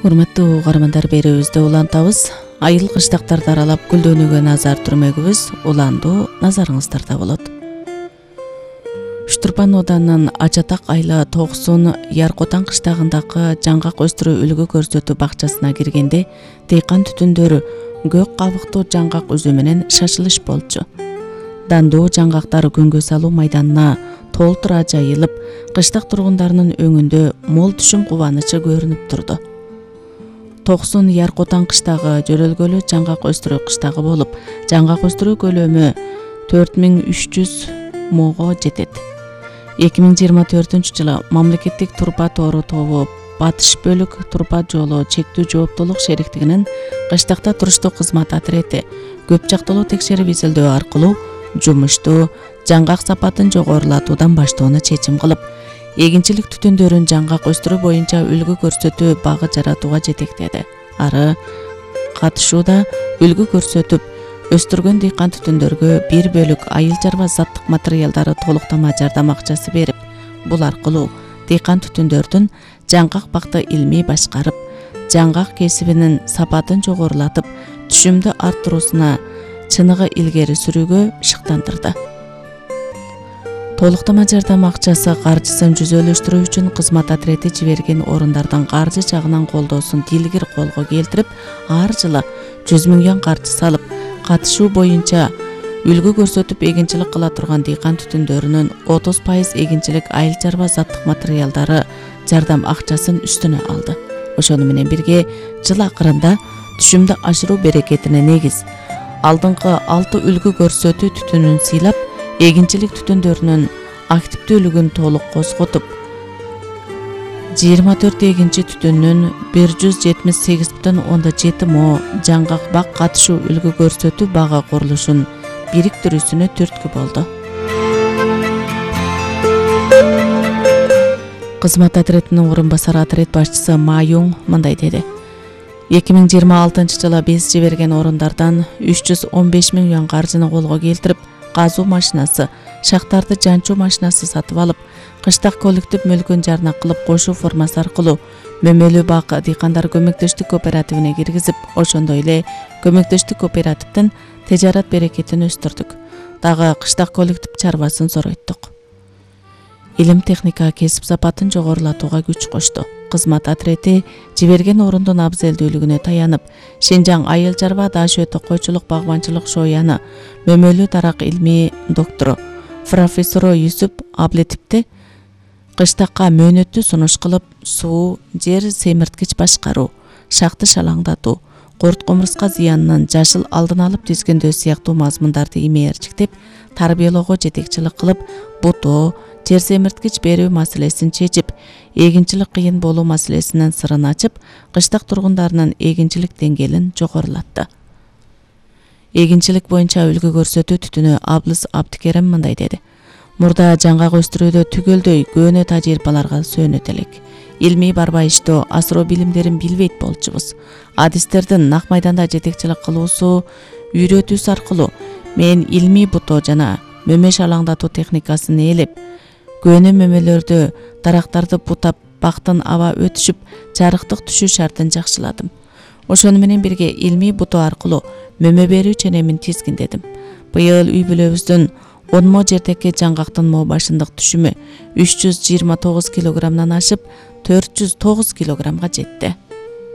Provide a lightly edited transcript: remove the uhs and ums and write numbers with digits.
Урматтуу угармандар, берүүбүздө улантабыз. Айыл кыштактарды аралап гүлдөнүүгө назар түрмөгүбүз уландуу назарыңыздарда болот. Штурпан оданынын Ачатак айла Токсун Яркотан кыштагындагы жаңгак өстүрүү үлгү көрсөтүү бакчасына киргенде дыйкан түтүндөрү көк кабыктуу жаңгак үзүү менен шашылыш болчу. Дандуу жаңгактар күнгө салуу майданына толтура жайылып, кыштак тургундарынын өңүндө мол түшүм кубанычы көрүнүп турду. Токсун Яркотан кыштагы жөрөлгөлүү жаңгак өстүрүү кыштагы болуп, жаңгак өстүрүү көлөмү 4300 мого жетет. 2024-жылы мамлекеттик турпа тоору тобу Батыш бөлүк турпа жолу чектүү жооптуулук шериктигинин кыштакта туруштуу кызмат отрети көп жактылуу текшерип изилдөө аркылуу жумушту жаңгак сапатын жогорулатуудан баштоону чечим кылып, эгинчилик түтүндөрүн жаңгак өстүрүү боюнча үлгү көрсөтүү багы жаратууга жетектеди. Ары катышууда үлгү көрсөтүп, өстүргөн дыйкан түтүндөргө 1 бөлүк айыл чарба заттык материалдары толуктама жардам акчасы берип, бул аркылуу дыйкан түтүндөрдүн жаңгак бакты илмий башкарып, жаңгак кесибинин сапатын жогорулатып, түшүмдү арттыруусуна чыныгы илгери сүрүүгө шыктандырды. Толуктама жардам акчасы каржысын жүзөлөштүрүү үчүн кызмат отрети жиберген орундардан каржы жагынан колдоосун дилгир колго келтирип, ар жылы 100 000 юан каржы салып, катышуу боюнча үлгү көрсөтүп эгинчилик кыла турган дыйкан түтүндөрүнүн 30% эгинчилик айыл чарба заттык материалдары жардам акчасын үстүнө алды. Ошону менен бирге жыл акырында түшүмдү ашыруу берекетине негиз алдыңкы 6 үлгү көрсөтүү түтүнүн сыйлап, эгинчилик түтүндөрүнүн активдүүлүгүн толук козготуп, 24 эгинчи түтүнүн 178,7 мо жаңгак бак катышуу үлгү көрсөтүү бага курулушун бириктирүүсүнө түрткү болду. Кызмат отретинин орун басары отрет башчысы Маюң мындай деди: 2026-жылы биз жиберген орундардан 315 000 юан каржыны колго келтирип, казуу машинасы, шахтарды жанчуу машинасы сатып алып, кыштак коллектив мүлкүн жарна кылып кошуу формасы аркылуу Мөмөлүү бак дыйкандар көмөктөштүк кооперативине киргизип, ошондой эле көмөктөштүк кооперативдин тежарат берекетин өстүрдүк. Дагы кыштак коллектив чарбасын зоройттук. Илим техника кесип сапатын жогорулатууга күч кошту. Кызмат отрети жиберген орундун абзелдүүлүгүнө таянып, Шинжаң айыл чарба даш өтө койчулук багбанчылык шояны Мөмөлүү дарак илмий доктору профессору Юсуп Аблетипти кыштакка мөөнөттүү сунуш кылып, суу, жер семирткич башкаруу, шахты шалаңдатуу, курт комурска зыянынын жашыл алдын алып тизгиндөө сыяктуу мазмундарды имээрчиктеп, тарбиялоого жетекчилик кылып, бутоо, жер семирткич берүү маселесин чечип, эгинчилик кыйын болуу маселесинин сырын ачып, кыштак тургундарынын эгинчилик деңгээлин жогорулатты. Эгинчилик боюнча үлгү көрсөтүү түтүнү Аблыс Абдикерим мындай деди: Мурда жаңгак өстүрүүдө түгөлдөй көөнө тажрыйбаларга сөөнөт элек. Илмий барбайыштоо, асыроо билимдерин билбейт болчубуз. Адистердин нак майданда жетекчилик кылуусу, үйрөтүүсү аркылуу мен илмий бутоо жана мөмө шалаңдатуу техникасын ээлеп, көөнө мөмөлөрдө дарактарды бутап, бактын аба өтүшүп, жарыктык түшүү шартын жакшыладым. Ошону менен бирге илмий бутоо аркылуу мөмө берүү ченемин тизгиндедим. Быйыл үй бүлөбүздүн 10 мо жердеги жаңгактын мо башындык түшүмү 329 килограммдан ашып 409 килограммга жетти.